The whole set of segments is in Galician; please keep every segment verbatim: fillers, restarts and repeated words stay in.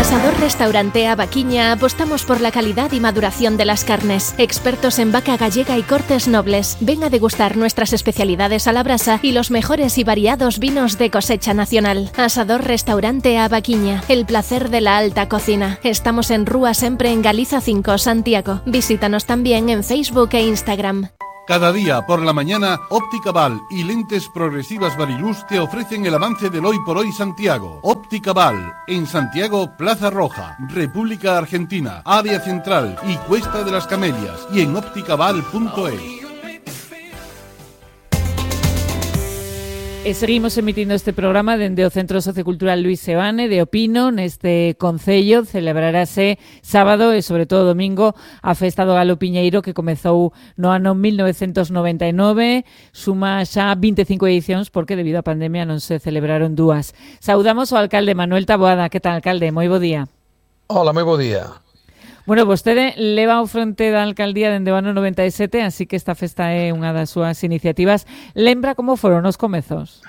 Asador Restaurante A Vaquiña apostamos por la calidad y maduración de las carnes. Expertos en vaca gallega y cortes nobles. Ven a degustar nuestras especialidades a la brasa y los mejores y variados vinos de cosecha nacional. Asador Restaurante A Vaquiña, el placer de la alta cocina. Estamos en Rúa Sempre en Galiza cinco, Santiago. Visítanos también en Facebook e Instagram. Cada día por la mañana, Óptica Val y Lentes Progresivas Variluz te ofrecen el avance del Hoy por Hoy Santiago. Óptica Val, en Santiago, Plaza Roja, República Argentina, Área Central y Cuesta de las Camelias, y en ópticaval punto es. E seguimos emitindo este programa dende o Centro Sociocultural Luís Seoane de Opino. Neste concello celebrarase sábado e sobre todo domingo a Festa do Galo Piñeiro, que comezou no ano mil novecentos noventa e nove. Suma xa vinte e cinco edicións porque debido á pandemia non se celebraron dúas. Saudamos ao alcalde Manuel Taboada. Que tal, alcalde? Moi bo día. Hola, moi bo día. Bueno, vostede leva ao fronte da alcaldía dende o ano noventa e sete, así que esta festa é unha das súas iniciativas. Lembra como foron os comezos?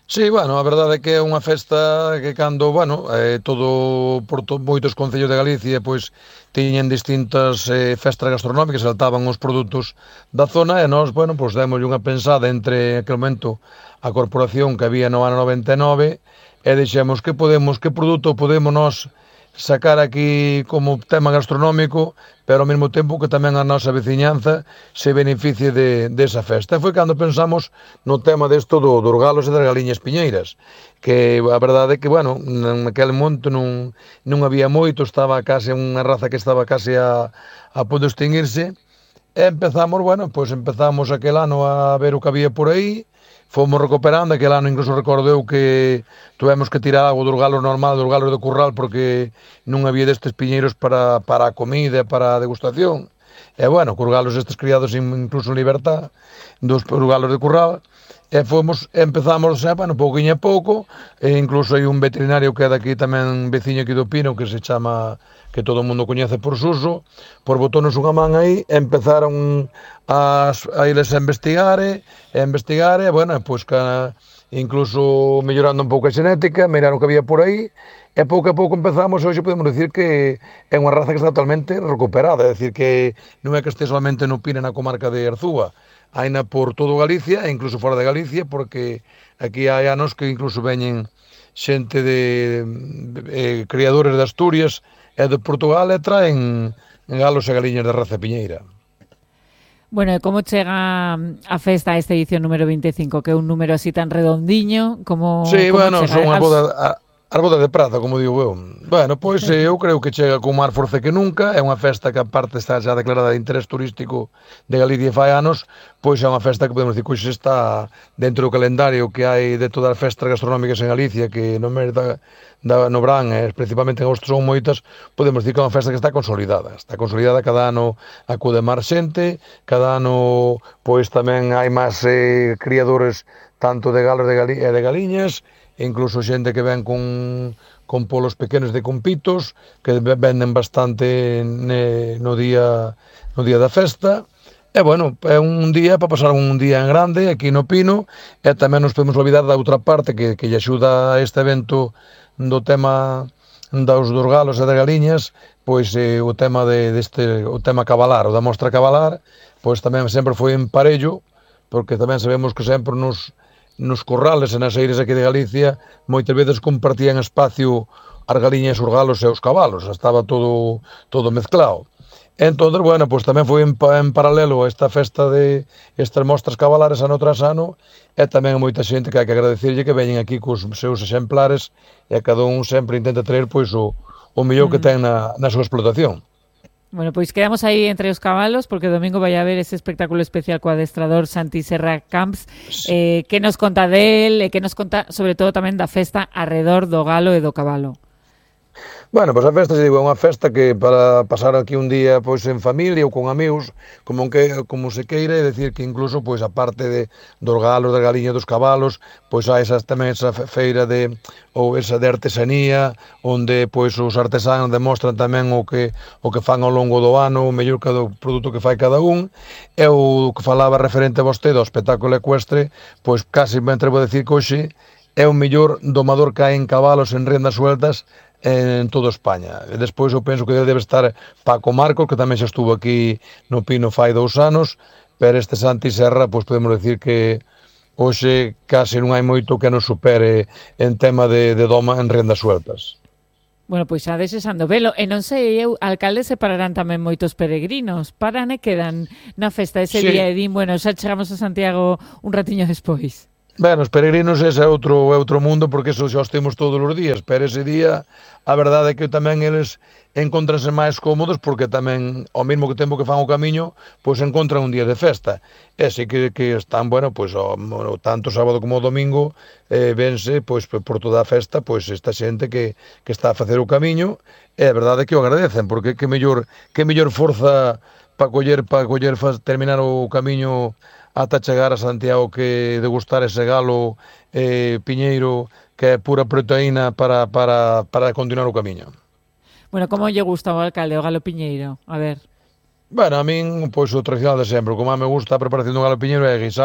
Sí, bueno, a verdade é que é unha festa que cando, bueno, eh, todo por to, moitos concellos de Galicia, pois tiñen distintas eh, festas gastronómicas, saltaban os produtos da zona e nós, bueno, pois demos unha pensada entre aquel momento a corporación que había no ano noventa e nove e dixemos que podemos, que produto podemos nós sacar aquí como tema gastronómico, pero ao mesmo tempo que tamén a nosa veciñanza se beneficie de, desa festa. E foi cando pensamos no tema desto do, dos galos e das galiñas piñeiras, que a verdade é que, bueno, naquele momento non, non había moito, estaba case unha raza que estaba case a, a punto de extinguirse, e empezamos, bueno, pois empezamos aquel ano a ver o que había por aí. Fomos recuperando, aquel ano incluso recordeu que tuvemos que tirar algo dos galos normal, dos galos de curral, porque non había destes piñeiros para, para a comida, para a degustación. E bueno, cos galos estes criados incluso en libertad, dos galos de curral, e fomos, empezamos, xa, bueno, pouquinho a pouco, e incluso hai un veterinario que é daqui tamén veciño aquí do Pino, que se chama, que todo o mundo coñece por Suso, por botones unha man aí, empezaron a, a irles a investigar, e a investigar, e, bueno, pois que incluso mellorando un pouco a xenética, miraron que había por aí, e pouco a pouco empezamos, hoxe podemos dicir que é unha raza que está totalmente recuperada, é dicir que non é que este solamente no Pino na comarca de Arzúa, haina por todo Galicia e incluso fora de Galicia, porque aquí hai anos que incluso veñen xente de, de, de criadores de Asturias e de Portugal e traen galos e galiñas de raza piñeira. Bueno, e como chega a festa a esta edición número vinte e cinco, que é un número así tan redondiño? Como, sí, como bueno, chega? son unha boda... A... As bodas de praza, como digo eu. Bueno, pois eu creo que chega con máis forza que nunca, é unha festa que aparte está xa declarada de interés turístico de Galicia fai anos, pois é unha festa que podemos dicir que hoxe está dentro do calendario que hai de todas as festas gastronómicas en Galicia, que no mes da, da, no Brán, e principalmente en agosto son moitas, podemos dicir que é unha festa que está consolidada. Está consolidada, cada ano acude máis xente, cada ano pois tamén hai máis eh, criadores tanto de galos de gali e de galiñas, incluso xente que ven con, con polos pequenos de compitos, que venden bastante ne, no día no día da festa. E, bueno, é un día para pasar un día en grande aquí no Pino, e tamén nos podemos olvidar da outra parte que, que lle axuda a este evento do tema dos dos galos e das galiñas, pois eh, o tema de, deste, o tema cabalar, o da mostra cabalar, pois tamén sempre foi en parello, porque tamén sabemos que sempre nos nos corrales e nas eiras aquí de Galicia moitas veces compartían espacio as galiñas, os galos e os cabalos, estaba todo todo mezclado. Entón, bueno, pois tamén foi en, en paralelo a esta festa de estas mostras cabalares ano tras ano, e tamén moita xente que hai que agradecerlle que veñen aquí cos seus exemplares e cada un sempre intenta traer pois o, o mellor mm. que ten na, na súa explotación. Bueno, pois quedamos aí entre os cabalos, porque domingo vai haber ese espectáculo especial co adestrador Santi Serra Camps, eh, que nos conta del, e que nos conta sobre todo tamén da festa arredor do galo e do cabalo. Bueno, pois a festa, se digo, é unha festa que para pasar aquí un día pois en familia ou con amigos, como que como se queira, é dicir que incluso pois a parte de dos galos, das galiñas, dos cabalos, pois hai esas tamén esa feira de ou esa de artesanía, onde pois os artesanos demostran tamén o que o que fan ao longo do ano, o mellor cada produto que fai cada un. E o que falaba referente a vostede ao espectáculo ecuestre, pois casi me atrevo a decir que hoxe é o mellor domador que hai en cabalos en riendas sueltas en toda España. E despois eu penso que debe estar Paco Marcos, que tamén xa estuvo aquí no Pino fai dous anos, pero este Santi Serra, pois podemos decir que hoxe case non hai moito que nos supere en tema de, de doma en rendas sueltas. Bueno, pois xa desexando velo. E non sei, eu, alcalde, se pararán tamén moitos peregrinos. Paran e quedan na festa ese sí. día e din, bueno, xa chegamos a Santiago un ratiño despois. Ben, os peregrinos ese é outro, é outro mundo, porque eso xa os temos todos os días, pero ese día a verdade é que tamén eles encontranse máis cómodos, porque tamén ao mesmo que tempo que fan o camiño, pois encontran un día de festa. E así que, que están, bueno, pois o, tanto sábado como o domingo eh, vense, pois por toda a festa, pois esta xente que, que está a facer o camiño, e a verdade é que o agradecen, porque que mellor, que mellor forza para coller, para coller, terminar o camiño ata chegar a Santiago que degustar ese galo eh, piñeiro que é pura proteína para, para, para continuar o camiño. Bueno, como lle gusta ao alcalde o galo piñeiro? A ver. Bueno, a min, pois o tradicional de sempre, como a me gusta a preparación do galo piñeiro é guisado,